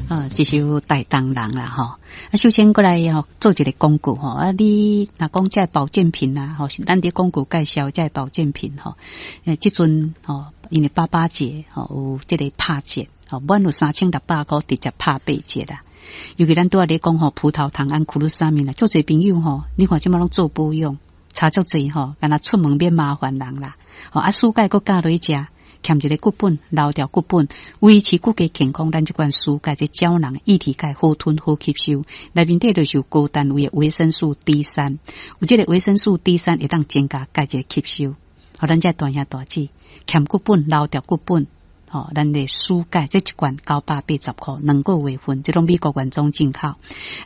啊，這首台東人啦吼。啊，首先過來吼做一个廣告吼。啊，你若講這保健品啊，吼，咱佇廣告介紹這保健品吼。這陣吼，因為爸爸節吼有這个拍折，吼，滿有3600箍直接拍八折啦。尤其咱拄仔咧講吼，葡萄糖胺、苦魯沙米啦，足濟朋友吼，你看這馬攏做保養，差足濟吼，敢若出門免麻煩人啦。吼，啊，舒鈣閣加落去食。欠一个骨本，留掉骨本，維持骨骼健康。咱這款舒鈣這膠囊，液體鈣好吞好吸收，內面底就是有高單位的維生素 D 三，有這个維生素 D 三會當增加鈣質吸收。好，咱這大兄大姊，欠骨本，留掉骨本，吼，咱的舒鈣這一罐980箍，2個月份，這攏美國原裝進口。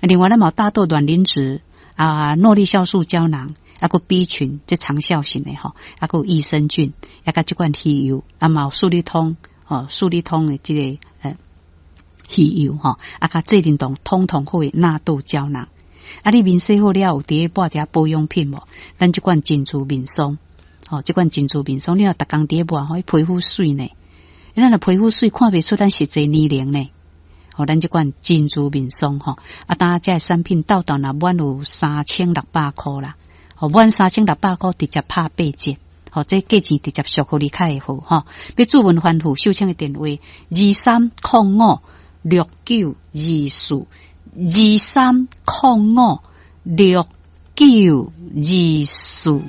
另外，咱嘛有大豆卵磷脂啊，諾麗酵素膠囊。啊，閣 B 群，這長效型的吼，啊，閣有益生菌，啊，佮這款魚油，啊，嘛有舒利通，吼，舒利通的這个魚油吼，啊，佮濟靈動通通好的納豆膠囊。啊，你面洗好了，有佇咧抹一下保養品無？咱這款珍珠面霜，吼，這款珍珠面霜，你若逐工佇咧抹，吼，皮膚媠呢。咱若皮膚媠，看袂出咱實際年齡呢。吼，咱這款珍珠面霜吼，啊，當這个產品到頭若滿有3600箍啦。吼，滿3600箍直接拍八折，吼，這價錢直接俗予你較會好吼。欲註文翻覆，秀清的電話23056924，23056924。